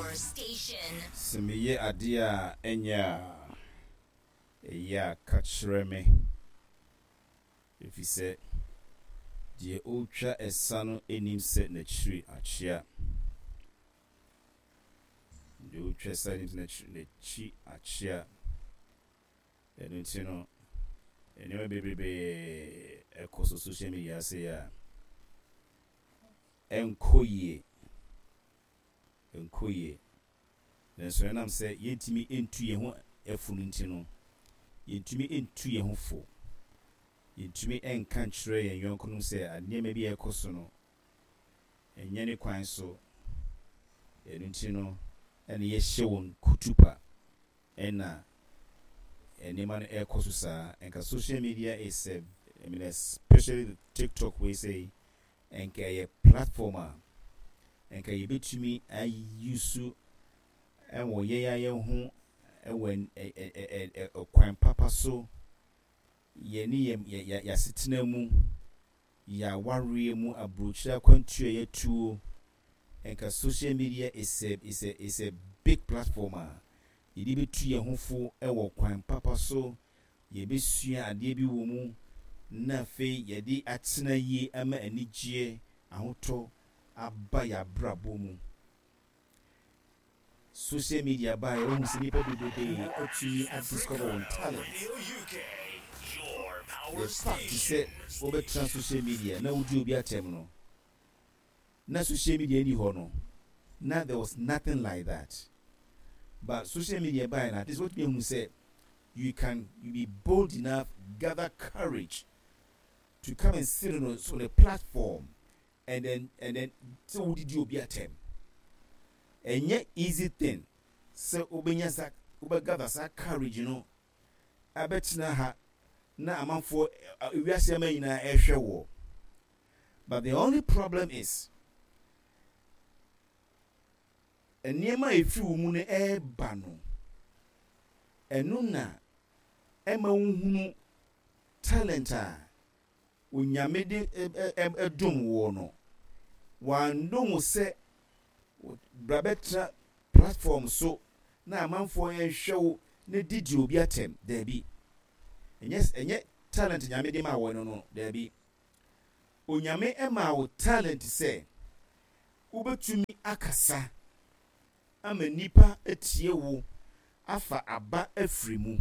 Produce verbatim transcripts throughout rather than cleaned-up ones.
Power Station. Sɛ meyɛ adeɛ a ɛnyɛ a, ɛyɛ a ka kyerɛ me, ɛfiri sɛ deɛ ɔretwa ɛsa no nnim sɛ n'akyiri akyea. Deɛ ɔretwa ɛsa no nim sɛ n'akyi akyea. Ɛno nti no, nneɛma bebrebe ɛkɔ so social media ase a ɛnkɔ yie, ɛnkɔ yie. Nanso ɛnam sɛ yɛntumi ntu yɛn ho fo no nti no, yɛntumi ntu yɛn ho fo. Yɛntumi nka nkyerɛ yɛn yɔnkonom sɛ nneɛma bi a ɛkɔ so no, ɛnyɛ ne kwan so. Ɛno nti no, ɛna yɛhyɛ wɔn kutupa ɛna nneɛma no ɛrekɔ so saa. Nka social media is a, I mean, especially TikTok wei sei, nka ɛyɛ platform a nka yɛbɛtumi ayi ɛwɔ yɛn a yɛn ho ɛwɔ ɛ ɛ kwan papa so, yɛne yɛn yɛ yɛasetena mu, yɛawareɛ mu, aburokyire akwantuo a yɛtuo. Nka social media is a is a is a big platform a yɛde bɛtu yɛn ho fo ɛwɔ kwan papa so. Yɛbɛsua adeɛ bi wɔ mu na afei yɛde atena yie ama anigyeɛ ahotɔ aba yɛn abrabɔ mu. Social media baa yɛ, wɔn sɛ nnipa bebree atumi adiscover wɔn talent. The fact sɛ wɔbɛtena social media na wodi obi atɛm no, na social media ni hɔ no, na there was nothing like that. But social media baa na at least wɔtumi ehu sɛ you can you be bold enough, gather courage to come and sit on a, on a platform and then and then sɛ wodidi obi atɛm. Ɛnyɛ easy thing sɛ wobɛnya sa wobɛgather saa courage no abɛtena ha na amanfoɔ, ewiase ama nyinaa ɛrehwɛ wɔ. But the only problem is nneɛma a efiri wo mu no ɛreba no, ɛno na ɛma wohunu talent a Onyame de ɛdom wɔ no. Wandom wo sɛ bra bɛtena platform so na amanfoɔ ɛnhwɛ wo na didi obi atɛm. Daabi, ɛnyɛ ɛnyɛ talent Nyame de ma wɔ no no Daabi, Onyame ɛma wo talent sɛ wobɛtumi akasa ama nipa atie wo afa aba afiri mu.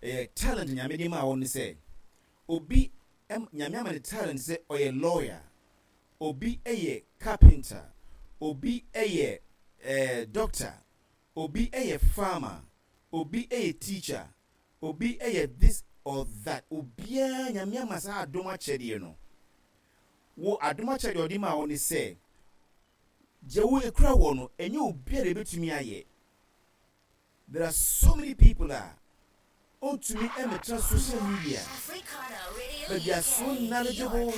Ɛyɛ talent Nyame de ma wo ne sɛ obi, Nyame ama ne talent sɛ ɔyɛ lawyer, obi yɛ carpenter, obi yɛ eh, doctor, obi yɛ farmer, obi yɛ teacher, obi yɛ this or that. Obiara Nyame ama saa adom akyɛdeɛ no. Wo adom akyɛdeɛ ɔde ma wo ne sɛ deɛ wo ekura wɔ no, ɛnyɛ obiara ebetumi ayɛ. There are so many people a ɔntumi ɛmɛtena social media, but they are so knowledgeable,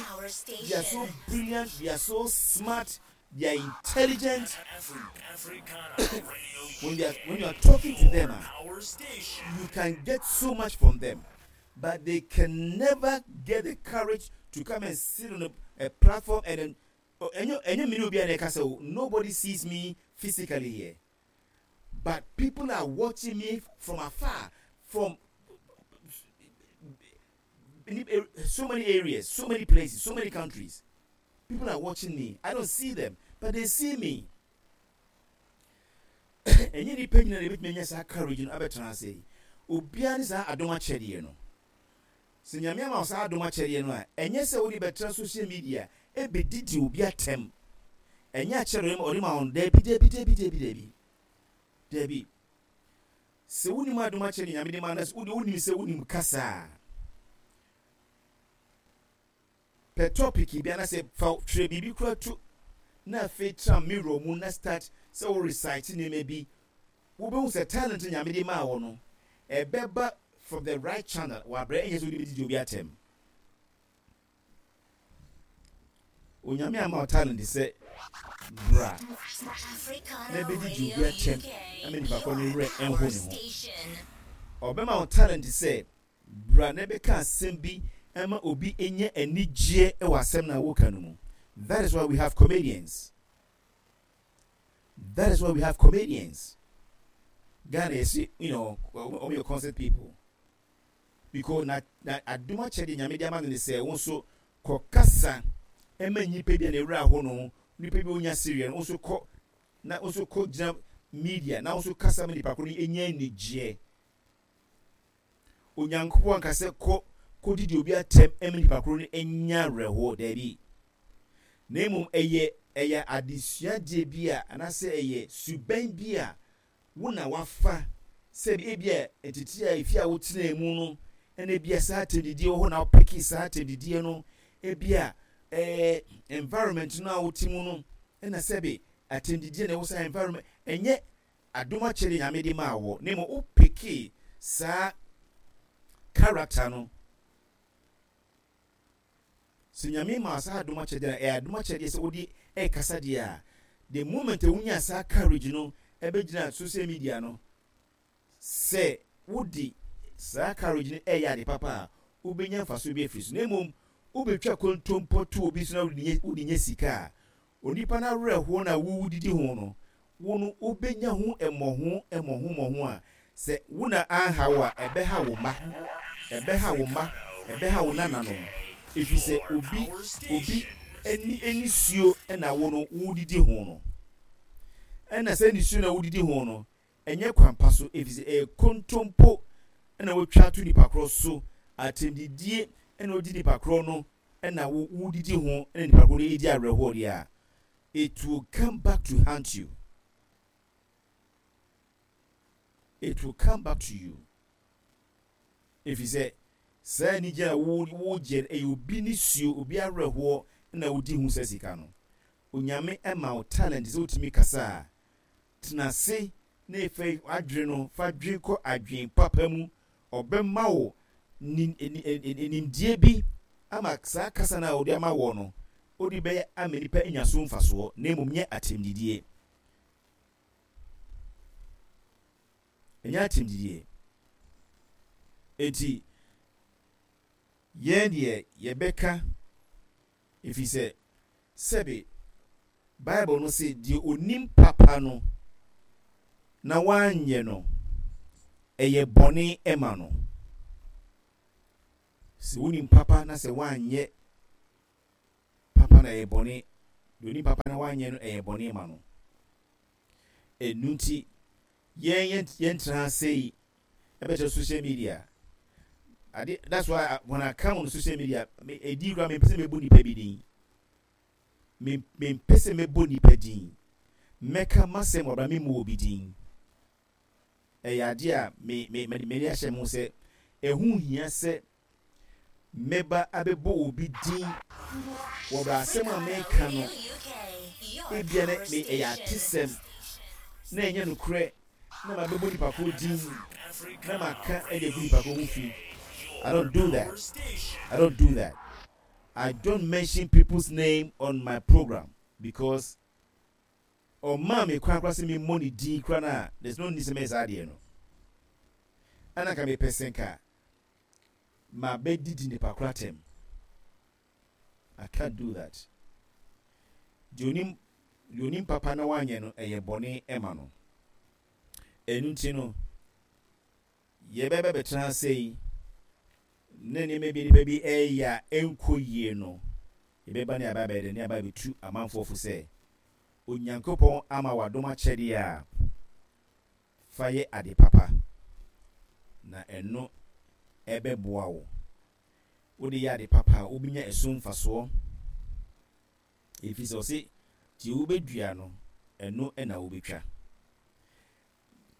they are so brilliant, they are so smart, they are intelligent. when they are when you are talking to them, ah, you can get so much from them, but they can never get the courage to come and sit on a, a platform and then, oh, ɛnyɛ ɛnyɛ mene obi a na ɛka sɛ o, nobody sees me physically here, but people are watching me from afar, from so many areas, so many places, so many countries. People are watching me. I don't see them, but they see me. Ɛnyɛ nipa nyina na ebɛtumi anya saa courage no abɛtena ase yi. Obiara ne saa adom akyɛdeɛ no. Sɛ Nyame ama wo saa adom akyɛdeɛ no a, ɛnyɛ sɛ wode bɛtena social media ɛbɛdidi obi atɛm. Ɛnyɛ akyɛdeɛ ɔde ma wo no. Daabi, daabi, daabi, daabi, daabi, daabi. Sɛ wonim adom akyɛdeɛ Nyame de ma no, wode wonim sɛ wonim kasa a, pɛ topic bi anasɛ fa twerɛ biribi kora to na afei tena mirror mu na start sɛ wo recite nneɛma bi. Wobɛhu sɛ talent Nyame de maa wɔ no ɛbɛba from the right channel. Wabrɛ, ɛnyɛ sɛ wode bɛdidi obi atɛm. Onyame ama wo talent sɛ bra na bɛdidi obi atɛm ama nipa kɔ ne werɛ ɛnho ne ho. Ɔbɛma wo talent sɛ bra na bɛka asɛm bi ɛma obi nya anigyeɛ ɛwɔ asɛm na woka no mu. That is why we have comedians. That is why we have comedians. Ghana yɛsi, you know wɔn yɛ concert people, because na na adom akyɛdeɛ Nyame de ama no ne sɛ wɔn nso kɔ kasa ɛma nnipa bi a na ewura hɔ no, nipa bi a onya sereɛ no, wɔn nso kɔ na wɔn nso kɔ gyina media na wɔn nso kasa ma nipa koro no enya anigyeɛ. Onyankopɔn anka sɛ kɔ kɔdidi obi atɛm ɛma nipa koro no anya awerɛhoɔ, daabi. Na mmom ɛyɛ ɛyɛ adesuadeɛ bi a anaasɛ ɛyɛ suban bi a wo na wafa sɛ ebi a ntete a efi a wotena mu no, ɛna ebi a saa atɛmdidie wɔ hɔ na wopeke saa atɛmdidie no, ebi a ɛɛ environment no a wote mu no, ɛna sɛbe atɛmdidie na ɛwɔ saa environment. Ɛnyɛ adom akyɛdeɛ Nyame de maa wɔ, na mmom wopeke saa character no. Sɛ Nyame maa saa adom akyɛdeɛ no, ɛyɛ adom akyɛdeɛ sɛ wode ɛrekasa deɛ a, the moment a wonya saa courage no ɛbɛgyina social media no, sɛ wode saa courage no ɛyɛ ade papa a, wobɛnya mfasoɔ bi afiri so. Na mmom wobɛtwa kontompɔ to obi so na wode nya sika a, onipa no awerɛhoɔ no a wowodidi ho no, wo no wobɛnya ho mmɔho mmɔho mmɔho a, sɛ wo na anha wo a, ɛbɛha wo mma, ɛbɛha wo mma, ɛbɛha wo nananom, ɛfiri sɛ obi obi ani anisuo na wo no wodidi ho no. Ɛna sɛ nisuo na wodidi ho no, ɛnyɛ kwan pa so, ɛfiri sɛ ɛyɛ kontompo na wotwa to nipa korɔ so, atɛmdidie na wodi nipa korɔ no na wo wodidi ho na nipa korɔ no edi awerɛhoɔ deɛ a, it will come back to haunt you. It will come back to you. Ɛfiri sɛ saa anigye a wo wogye no, ɛyɛ obi nisuo, obi awerɛhoɔ na wodi ho sɛ sika no. Onyame ma wo talent sɛ wotumi kasa a, tena ase na efa adwene no fa dwen kɔ adwen papa mu. Ɔbɛma wo nimdeɛ bi ama saa kasa no a ɔde ama wɔ no, wode bɛyɛ ama nipa anya so mfasoɔ, na mmom nyɛ atɛmdidie. Ɛnyɛ atɛmdidie. Enti yɛn deɛ yɛbɛka, ɛfiri sɛ sɛbe Bible no se deɛ onim papa no na wanyɛ no, ɛyɛ bɔne ma no. Sɛ wonim papa na sɛ wanyɛ papa na ɛyɛ bɔne, deɛ onim papa na wanyɛ no, ɛyɛ bɔne ma no. Ɛnu nti yɛn yɛntena ase yi ɛbɛkyerɛ social media ade. That's why I, when I come on social media, me edi kura, me mpɛ sɛ mebɔ nipa bi din, me mempɛ sɛ mebɔ nipa din. Mɛka masɛm wɔ abira me mu obi din. Ɛyɛ adeɛ a me me me m'ani ahyɛ mo sɛ ɛho hia sɛ mɛba abɛbɔ obi din wɔ bra asɛm a meka no, ebia na me ɛyɛ atesɛm na ɛnyɛ nokorɛ na mabɛbɔ nipa koro din na maka ɛde agu nipa koro ho fi. I don't do that. I don't do that. I don't mention people's name on my program because ɔmaa me kwan koraa sɛ memmɔ ne din koraa no a, there's no need sɛ mɛyɛ saa adeɛ no. Ɛna nka mepɛ sɛ nka mabɛdidi nipa koro atɛm. I can't do that. Deɛ onim deɛ onim papa na wanyɛ no, ɛyɛ bɔne ɛma no. Ɛno nti no yɛbɛbɛ bɛtena ase yi na nneɛma bi nipa bi ɛyɛ a ɛnkɔ yie no, yɛbɛba ne aba bɛyɛ dɛ ne aba bɛtu amanfoɔ fo sɛ Onyankopɔn ama wadom akyɛdeɛ a, fa yɛ ade papa na ɛno ɛbɛboa wo. Wode yɛ ade papa a, wobɛnya ɛso mfasoɔ, ɛfiri sɛ ɔse deɛ wobɛdua no, ɛno ɛna wobɛtwa.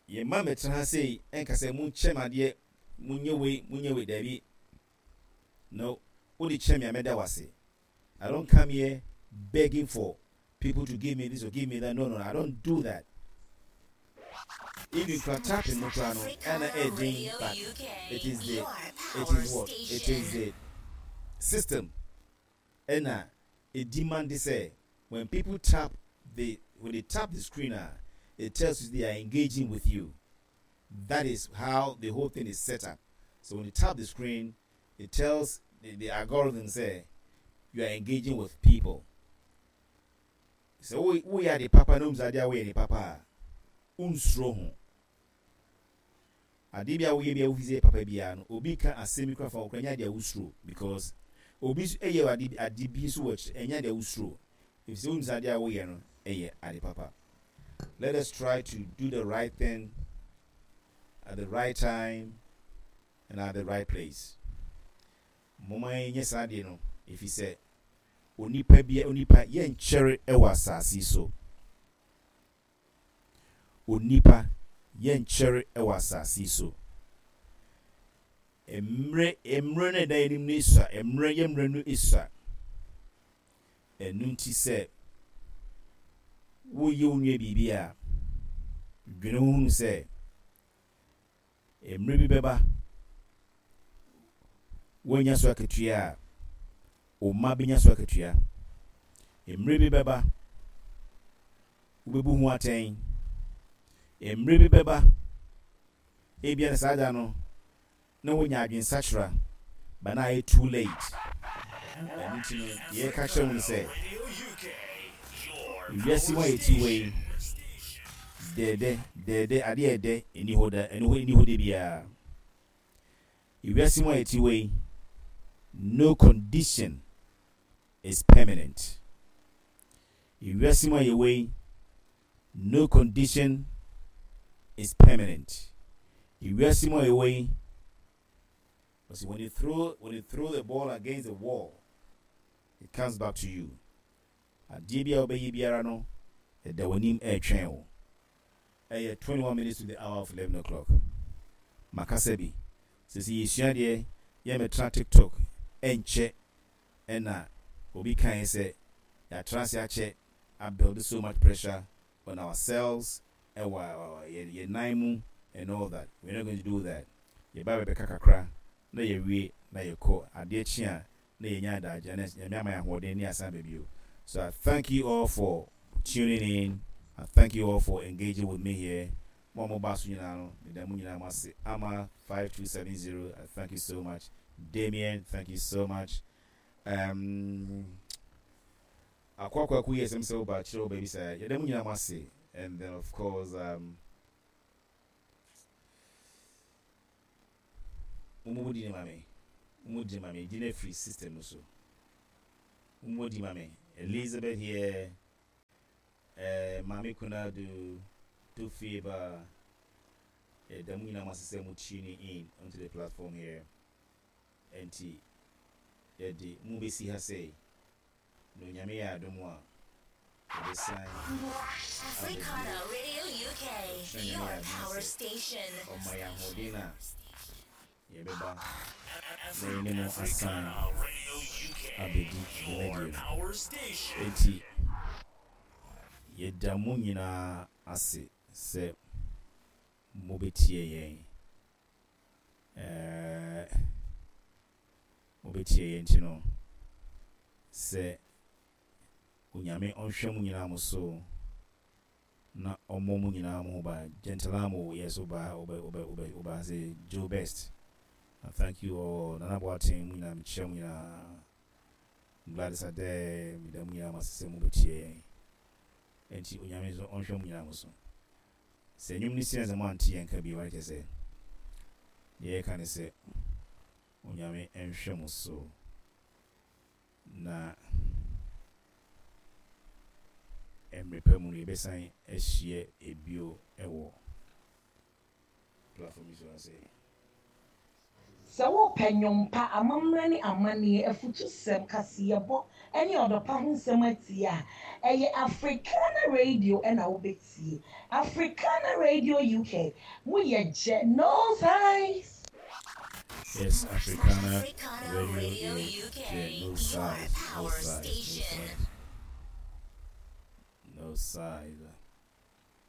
Yɛmma mmɛtena ha sei ɛnka sɛ monkyɛ me adeɛ, monyɛ wei, monyɛ wei. Daabi no, wode kyɛ me a, mɛda wo ase. I don't come here begging for people to give me this or give me that. No, no, I don't do that. Even kura tapping no kura no, ɛna ɛden, but it is the it is what it is, the system ɛna demand sɛ when people tap the when they tap the screen, ah, it tells you they are engaging with you. That is how the whole thing is set up. So when you tap the screen, it tells the, the algorithm say you are engaging with people. Sɛ woyɛ ade papa na wonim sɛ adeɛ a woyɛ ne papa a, wonsuro ho. Adeɛ bi a woyɛ bi a wofi sɛ papa biara no, obi ka asɛm bi kora fa wo kora, ɛnyɛ adeɛ a wosuro, because obi nso ɛyɛ ade ade bi nso wɔ akyire, ɛnyɛ adeɛ a wosuro, efisɛ wonim sɛ adeɛ a woyɛ no ɛyɛ ade papa. Let us try to do the right thing at the right time and at the right place. Momma yɛnyɛ saa adeɛ no, ɛfiri sɛ onipa bia onipa yɛnkyɛre ɛwɔ asase yi so. Onipa yɛnkyɛre ɛwɔ asase yi so. Mmerɛ mmerɛ no ɛda anim no esua, mmerɛ yɛ mmerɛ no esua. Ɛno nti, sɛ woyɛ wo nua biribi a, dwene ho hunu sɛ mmerɛ bi bɛba, woanya so akatua a, wo mma bɛnya so akatua. Mmerɛ bi bɛba, wobɛbu ho atɛn. Mmerɛ bi bɛba, ebia na saa da no na wonya adwensakyera ba, na ayɛ too late. Ɛno nti no, deɛ yɛka kyerɛ wo no sɛ ewiase mu a yɛti hɔ yi, dɛɛdɛ dɛɛdɛ adeɛ ɛdɛ ɛni hɔ da, ɛni hɔ ɛni hɔ da biara. Ewiase mu a yɛti hɔ yi, no condition is permanent. Ewiase mu a yɛwɔ yi, no condition is permanent. Ewiase mu a yɛwɔ yi, see, when you throw when you throw the ball against the wall, it comes back to you. Adeɛ bi a wobɛyɛ biara no, ɛda w'anim ɛretwɛn wo. Ɛyɛ twenty-one minutes to the hour of eleven o'clock. Makasa bi sɛ sɛ yɛsua deɛ yɛmɛtena TikTok ɛnkyɛ, ɛna obi kan sɛ yɛatena ase akyɛ, abuild so much pressure on ourselves ɛwɔ yɛn nan mu and all that. We're not going to do that. Yɛba bɛbɛka kakra na yɛwie na yɛkɔ. Adeɛ kye a na yɛnya adagye na Nyame ama yɛn ahoɔden ne asan baabi. So I thank you all for tuning in. I thank you all for engaging with me here. Mo a moba so nyinaa no, meda mo nyinaa mo ase. Ama five two seven zero, I thank you so much. Damien, thank you so much. um, Akwakwaku yɛ sɛm sɛ woba kyerɛ wo baabi sɛ yɛda mo nyinaa mo ase. And then, of course, um, mo di ne ma me, mo di ma me di na free system no so. Mo di ma me Elizabeth here, uh, Mame Kunadu Tufiba, yɛda mo nyinaa mo ase sɛ mo tuning in onto the platform here. Nti yɛde mo bɛsi ha sɛ na Onyame yɛ adom a, yɛbɛsan. Africana Radio U K, your power station. Ɔma yɛ ahoɔden a, yɛbɛba na yɛne mo asan abɛdi dwumadie no. Enti yɛda mo nyinaa ase sɛ mobɛtie yɛn. ɛɛ mobɛtie yɛn nti no, sɛ Onyame ɔnhwɛ mo nyinaa mo so na ɔmmɔ mo nyinaa mo ho ban. Gentlamo yɛ so ba wobɛ wobɛ wobɛ woba sɛ Joe Best. I thank you all. Nana Boateng, mo nyinaa mekyia mo nyinaa. Gladys Adɛ, meda mo nyinaa mo ase sɛ mobɛtie yɛn. Nti Onyame nso ɔnhwɛ mo nyinaa mo so. Sɛ nnwom no si na sɛ moante yɛn ka bio, kyerɛ sɛ deɛ yɛka ne sɛ Onyame nhwɛ mo so na mmerɛ pa mu no yɛbɛsan ahyia ebio ɛwɔ platform yi so ase. Sɛ wopɛ nnwompa, amammerɛ ne amanneɛ, afutusɛm, kaseɛbɔ ne ɔdɔpa ho nsɛm atie a, ɛyɛ Africana Radio ɛna wobɛtie. Africana Radio U K, moyɛ gyɛ no size. Yes, Africana Africana Radio Radio U K, U K, no your size, no power size, no station. size, no size.